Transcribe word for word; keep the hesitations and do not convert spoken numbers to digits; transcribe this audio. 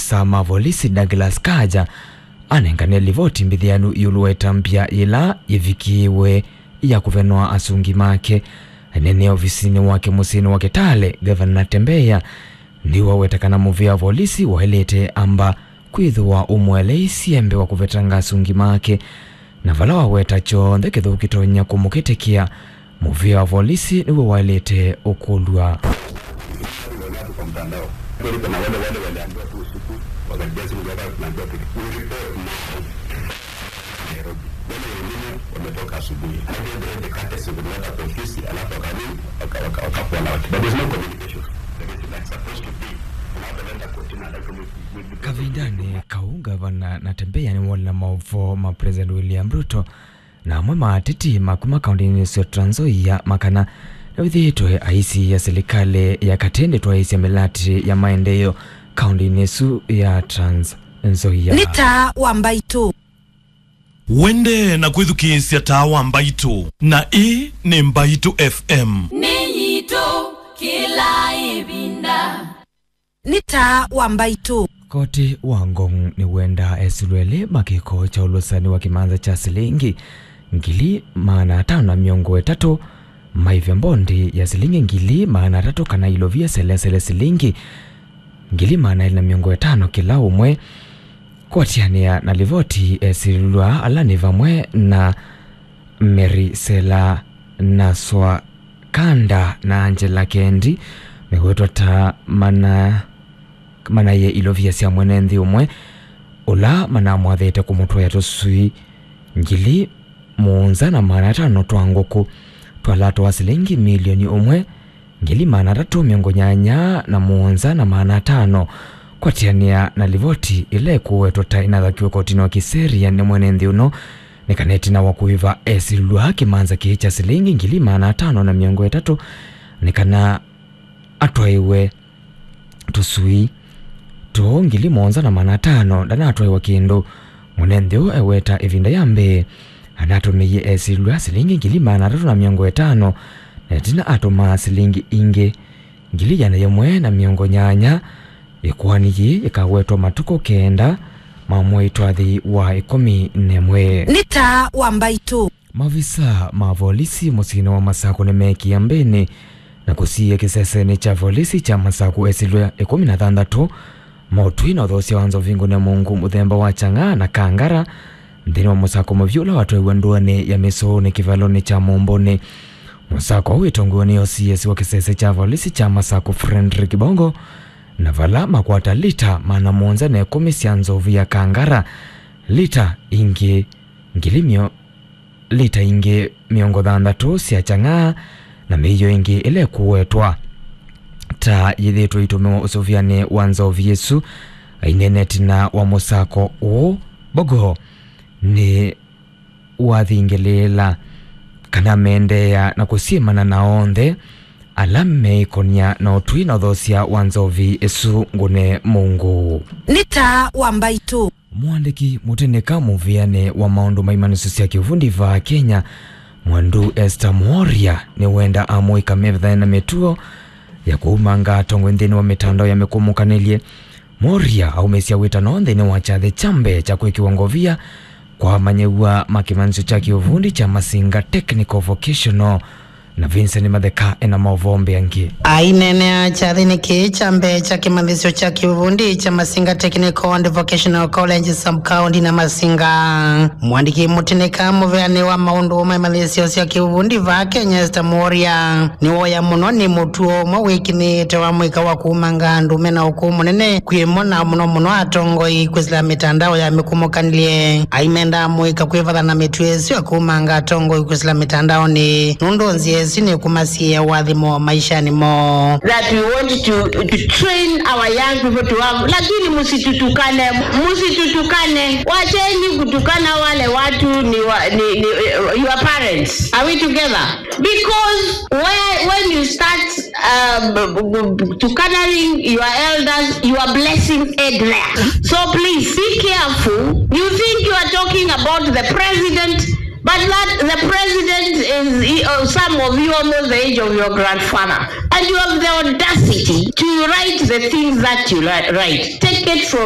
Sa ma volisi Douglas Kaja anengane livoti mbĩthĩanu ĩũlũ wa ĩtambya yĩla yĩvikĩĩwe ya kũvenwa asungi make. Anene ovisinĩ wake mũsyĩnĩ wa Kitale, Gavana Natembeya nĩwaweta kana mũvĩa wa volisi waĩlĩte amba kwĩthĩwa ũmũeleisye mbee wa kũvetanga asungi make, na vala waweta kyonthe kĩthũku kĩtonya kũmũkĩtĩkĩa, mũvĩa wa volisi nĩw'o waĩlĩte ũkũlw'a. Kwa mtandao. Kweli kuna wale, wale waliambiwa tu usiku, wakajia simu, "Gavana, tunaambiwa tu, we report now." Nairobi. Wale wengine wametoka asubuhi. Hadi ndio the courtesy kuleta kwa ofisi, alafu wakanini, waka-, waka-, waka-, fall out. But there's no communication. There is, like, supposed to be. Unapoenda kotini, like, we, we, we, Kavindanĩ kau, Gavana Natembeya nĩwoonie na maũvoo ma President William Ruto na amwe ma ateti ma kuma kaũntĩnĩ ĩsu ya Trans Nzoia makana nĩwĩthĩĩtwe aisiĩa silikalĩ ya katĩ ndĩtwaĩĩsya mĩlatĩ ya maendeeo kaũntĩnĩ ĩsu ya Trans Nzoia. Nĩ taa wa Mbaitũ. Wendee na kwĩthukĩĩsya taa wa Mbaitũ, na ĩĩ nĩ Mbaitũ F M. Nĩ yitũ kĩla ĩvinda. Nĩ taa wa Mbaitũ. Koti wa Ngong nĩwendaa esilũ elĩ ma kĩko kya ũlũsani wa kĩmanza kya silingi ngili maana atano na mĩongo ĩtatũ maĩve mbondi ya silingi ngili maana atatũ kana ilovia selesele silingi ngili maana elĩ na mĩongo ĩtano kĩla ũmwe. Kũatĩanĩa na livoti, esilwa ala nĩ vamwe na Mary Sela Naswa Kanda na Angela Kendi mewetwa ta mana, manaĩe ilovia sya mwene nthĩ ũmwe ũla manamwathĩte kũmũtwaĩa tũswii ngili mũonza na maana atano twa ngũkũ twa lato wa silingi milioni ũmwe ngili maana atatũ mĩongo nyanya na mũonza na maana atano. Kũatĩanĩa na livoti ĩla ĩkũwetwa ta ĩnathakiwe kotinĩ wa kĩseria nĩ mwene nthĩ ũno, nĩ kana ĩtina wa kũĩva esilwa kĩmanza kĩĩ kya silingi ngili maana atano na mĩongo ĩtatũ, nĩ kana atwaĩwe tũswii tũũ ngili mũonza na maana atano, ndanatwaĩwa kĩndũ. Mwene nthĩ ũũ eweta ĩvinda ya mbee anatũmĩie esilwa silingi ngili maana atatũ na mĩongo ĩtano, na ĩtina atũmaa silingi ingĩ ngili ĩana yĩmwe na mĩongo nyanya. Ĩkoani yĩĩ yĩkawetwa matukũ kenda ma mwei twathi wa ĩkũmi na ĩmwe. Nĩ taa wa Mbaitũ. Mavisa ma volisi mũsyĩnĩ wa Masakũ nĩmeekie mbĩnĩ na kũsiĩĩa kĩsesenĩ kya volisi kya Masakũ esilwa ĩkũmi na thanthatũ ma ũtwi na ũthoosya wa nzovi ngũne mũungu mũthemba wa Chang'aa na Kangara nthĩnĩ wa mũsako mũvyũ ũla watwaiwe ndũanĩ ya Mĩsũũnĩ kĩvalonĩ kya Mũmbũnĩ. Mũsako ũũ wĩtongoew'e nĩ O C S wa kĩsese kya volisi kya Masakũ Fredrick Bongo, na vala makwata lita maana mũonza na ĩkũmi sya nzovi ya Kangara, lita ingĩ ngili mĩo-, lita ingĩ mĩongo thanthatũ sya Chang'aa, na mĩio ĩngĩ ĩla ĩkũwetwa ta yĩthĩĩtwe ĩitũmĩwa ũsũvĩanĩ wa nzovi ĩsu. Aineena ĩtina wa mũsako ũũ, Bogo nĩ wathingĩlĩĩla kana meendeea na kũsyĩmana na onthe ala meĩkony'a na ũtwi na ũthoosya wa nzovi ĩsu ngũne mũungu. Nĩ taa wa Mbaitũ. Mũandĩki mũtĩnĩka mũvĩanĩ wa maũndũ ma imanyĩsyo sya kĩuvundi vaa Kenya, Mwandu Esther Mworia, nĩwenda amũika mevethane na mĩtuo ya kũumanga atongoi nthĩnĩ wa mĩtandao ya mĩkũmũkanĩlye. Mworia aumĩsya wĩtano nthĩnĩ wa kyathĩ kya mbee kya kwĩkĩwa ngovia kwa amanyĩw'a ma kĩmanyĩsyo kya kĩuvundi kya Masinga Technical Vocational, na Vincent Matheka ena maũvoo mbeange. Aineenea kyathĩnĩ kĩĩ kya mbee kya kĩmanyĩsyo kya kĩuvundi kya Masinga Technical and Vocational College Sub-County na Masinga, mũandĩki mũtĩnĩka mũveanĩ wa maũndũ ma imanyĩsyo sya kĩuvundi vaa Kenya Esther Mworia nĩwoya mũno nĩ mũtuo ũmwe wĩkinyĩĩte wa mũika wa kũumanga andũ mena ũkũũ mũnene kwĩ mo, na mũno mũno atongoi kwĩsĩla mĩtandao ya mĩkũmũkanĩlye. Aimenda mũika kwĩvatha na mĩtuo ĩsu ya kũumanga atongoi kwĩsĩla mĩtandaonĩ, nũndũ nzĩa ĩsu nĩkũmasiĩĩa ũathimo maishanĩ moo. That we want to, to train our young people to have, lakini msitutukane, msitutukane. Wacheni kutukana wale watu ni, wa, ni, ni, eh, your parents. Are we together? Because where, when you start, um, b-, b-, b-, tukanaring your elders, your blessings end there. So please be careful. You think you are talking about the president, but that the president is, he, uh, some of you almost the age of your grandfather. And you have the audacity to write the things that you li-, write. Take it from